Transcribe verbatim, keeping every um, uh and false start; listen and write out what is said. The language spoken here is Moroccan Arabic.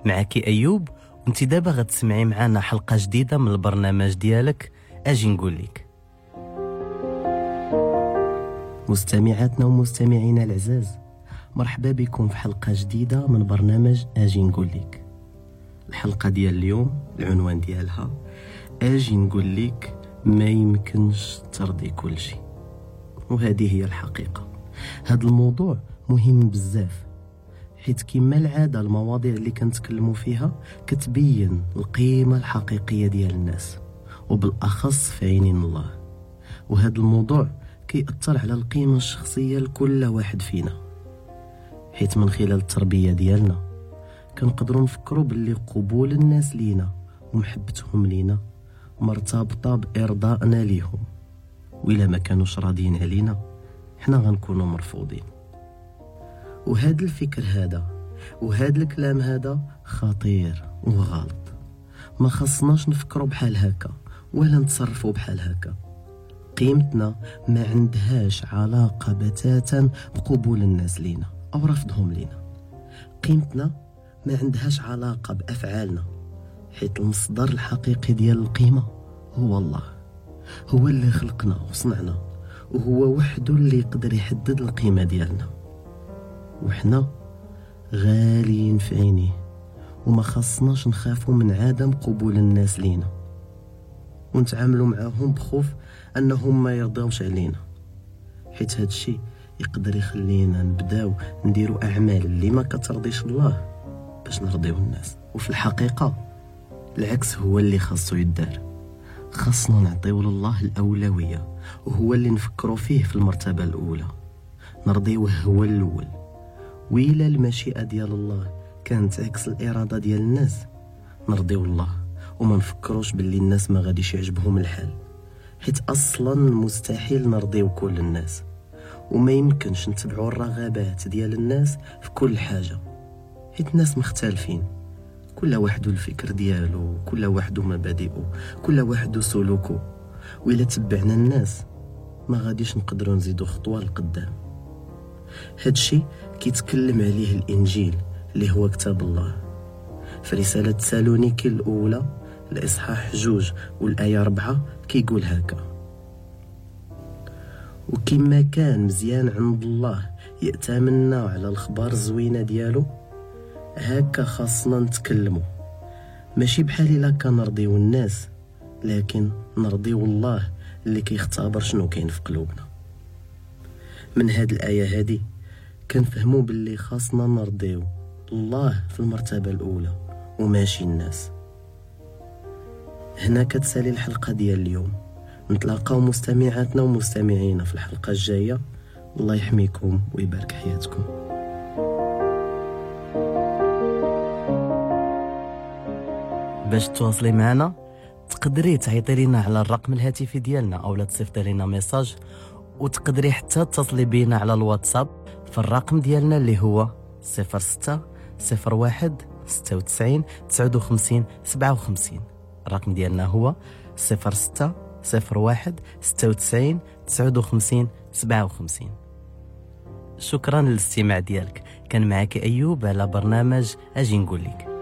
معك أيوب، وانت دابا غتسمعي معنا حلقة جديدة من البرنامج ديالك أجي نقول لك. مستمعاتنا ومستمعينا العزاز، مرحبا بكم في حلقة جديدة من برنامج أجي نقول لك. الحلقة ديال اليوم العنوان ديالها أجي نقول لك ما يمكنش ترضي كل شيء، وهذه هي الحقيقة. هذا الموضوع مهم بزاف، حيت كما العادة المواضيع اللي كنتكلموا فيها كتبين القيمة الحقيقية ديال الناس، وبالأخص في عينين الله. وهذا الموضوع كيأثر على القيمة الشخصية لكل واحد فينا، حيت من خلال التربية ديالنا كنقدروا نفكروا باللي قبول الناس لينا ومحبتهم لينا مرتبطة بإرضائنا ليهم، وإلا ما كانوش راضيين علينا حنا غنكونوا مرفوضين. وهذا الفكر هذا وهذا الكلام هذا خطير وغلط. ما خصناش نفكروا بحال هكا ولا نتصرفوا بحال هكا. قيمتنا ما عندهاش علاقة بتاتا بقبول الناس لينا أو رفضهم لينا. قيمتنا ما عندهاش علاقة بأفعالنا، حيت المصدر الحقيقي ديال القيمة هو الله، هو اللي خلقنا وصنعنا، وهو وحده اللي يقدر يحدد القيمة ديالنا. وحنا غاليين في عينيه، وما خصناش نخافوا من عدم قبول الناس لينا ونتعاملوا معاهم بخوف انهم ما يرضاوش علينا، حيت هادشي يقدر يخلينا نبداو نديروا اعمال اللي ما كترضيش الله باش نرضيو الناس. وفي الحقيقة العكس هو اللي خاصو يدار. خاصنا نعطيو لله الأولوية، وهو اللي نفكروا فيه في المرتبة الأولى، نرضيوه هو الأول. وإلا المشيئة ديال الله كانت عكس الإرادة ديال الناس، نرضيو الله وما نفكروش باللي الناس ما غاديش يعجبهم الحال، حيت أصلا مستحيل نرضيو كل الناس، وما يمكنش نتبعوا الرغبات ديال الناس في كل حاجة، حيت الناس مختلفين، كل واحد الفكر ديالو، كل واحد مبادئه، كل واحد سلوكه. وإلا تبعنا الناس ما غاديش نقدروا نزيدوا خطوة لقدام. هادشي كيتكلم عليه الإنجيل اللي هو كتاب الله. في رسالة تسالونيكي الأولى الإصحاح جوج والآية أربعة كيقول هكا: وكما كان مزيان عند الله يأتمنا على الخبار الزوينة ديالو، هكا خاصنا نتكلموا، ماشي بحال إلا كنرضيو الناس، لكن نرضيو الله اللي كيختبر شنو كاين في قلوبنا. من هاد الآية هادي كنفهموا باللي خاصنا نرضيو الله في المرتبة الأولى وماشي الناس. هنا كتسالي الحلقة ديال اليوم. نتلاقاو مستمعاتنا ومستمعينا في الحلقة الجاية. الله يحميكم ويبارك حياتكم. باش تواصلي معنا تقدري تعيطي لنا على الرقم الهاتفي ديالنا أو لا تصيفطي لنا message، وتقدري حتى تتصلي بينا على الواتساب في الرقم ديالنا اللي هو صفر ستة صفر واحد ستة وتسعين تسعة وخمسين سبعة وخمسين. الرقم ديالنا هو صفر ستة صفر واحد ستة وتسعين تسعة وخمسين سبعة وخمسين. شكرا للاستماع ديالك. كان معك أيوب على برنامج أجي نقول لك.